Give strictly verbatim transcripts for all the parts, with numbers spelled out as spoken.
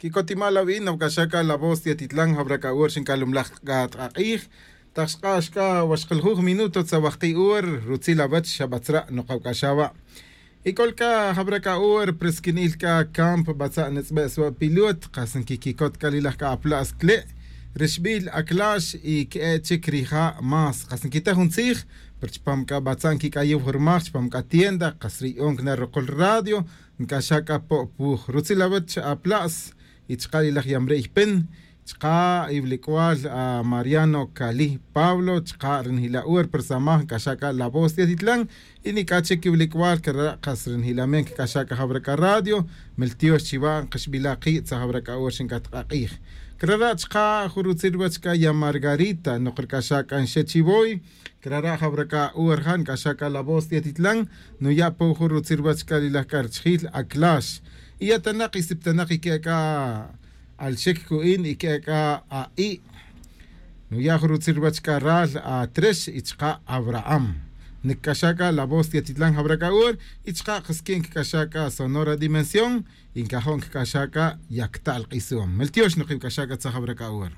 Quicot imal awi' noc'axaca la voz de atitlan jabra c'a hora xincalumlaj c'a t'ak'ij. Tak xk'ax c'a waxkiljuj minuto tzawajki' hora rutzil awech xabatzra' nok'awc'axa wa'. Y c'ol c'a jabra c'a hora prisquinil c'a campo batza' nitz'be' swa' pilot kas nquiquicot c'a lilaj c'a apla's cle', rixbil aclax y que'e' chic rija' más kas nquita jun tzij. Pero chupam c'a batza' nquic'ayiw jurmaj chupam c'a tienda kas ri'on cana rukul radio nc'axa' c'a po' puj rutzil awech apla's. Y chka' lilaj yamre' ypin chka' iwilic'wal a mariano cali pablo chka' ri nijila' hora pero samaj nc'axa' c'a la voz de atitlan. Y nic'a chic iwilic'wal crara' kas ri nijila' me nc'axa' c'a jawra c'a radio. Miltiox chiwa' nkaxbila' ki' tza jawra c'a hora xinc'at k'a k'ij. Crara' chka' jun rutzil ruwech c'a ya margarita nok ric'axa' c'a nxe' chiwoy. Crara' jawra c'a hora ja nc'axa' c'a la voz de atitlan. Nuya' po jun rutzil ruwech c'a lilaj c'a richijil aclax y ya tanak y siptanak y que'e' c'a alxic cu'in y que'e' c'a a'i'. Nuya' jun rutzil ruwech c'a ral atrex y chka' abraham. Nic'axa' c'a la voz de atitlan jawra c'a hora y chka' kasqui' nc'axa' c'a sonora dimensión. Y ncajo' nc'axa' c'a yacta'l k'isum miltiox nok'ibc'axa' c'a tza jawra c'a hora.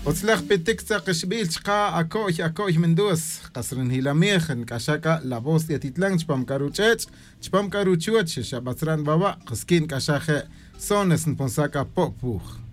Utzlaj pitic tzakixbil chka' aco'y aco'y mindus. Kas ri njilamij nc'axa' c'a la voz de atitlan chupam c'a ruch'ech' chupam c'a ruchuoch xabatzra' nbawa' kasqui' nc'axa' je'. Sones nponsa' c'a po' puj.